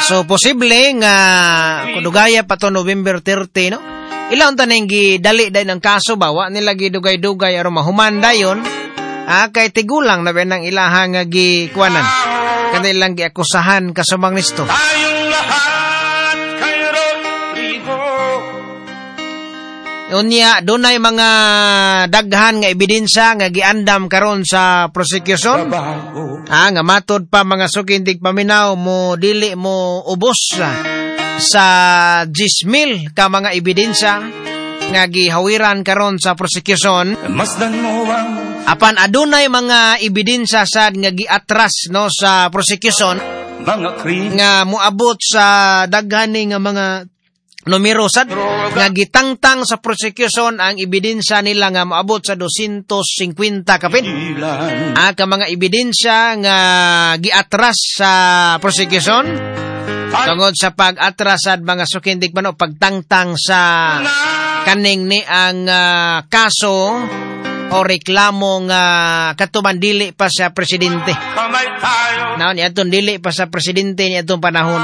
So posible nga kudugaya pa to November 30, no? Ilang taning gidali dahil ng kaso ba, wa nila gidugay-dugay aron mahuman dayon. Ah, kay tigulang na ba ng ilahang nga gikuanan. Kanilang giakusahan kasumang nisto. Tayong lahat kay Rodrigo. Unya, dunay mga daghan nga ebidensya nga giandam karon sa prosecution. Trabaho. Ah, nga matod pa, mga suking tigpaminaw, mo dili mo ubos sa 10,000 ka mga ebidensya nga gihawiran karon sa prosecution. Masdan mo ang Apan adunay mga ebidensya sad nga giatras, no, sa prosecution mga krimen. Nga moabot sa daghan ni nga mga numero sad nga gitangtang sa prosecution ang ebidensya nila nga moabot sa 250 kapin. Ilan. Ah, ka mga ebidensya nga giatras sa prosecution tungod sa pag-atras sad, mga suking tigpaminaw, pagtangtang sa kaning ni ang kaso o reklamo nga katuman dili pa sa presidente. Kamay tayo. Naon ni atong dili pa sa presidente ni atong panahon.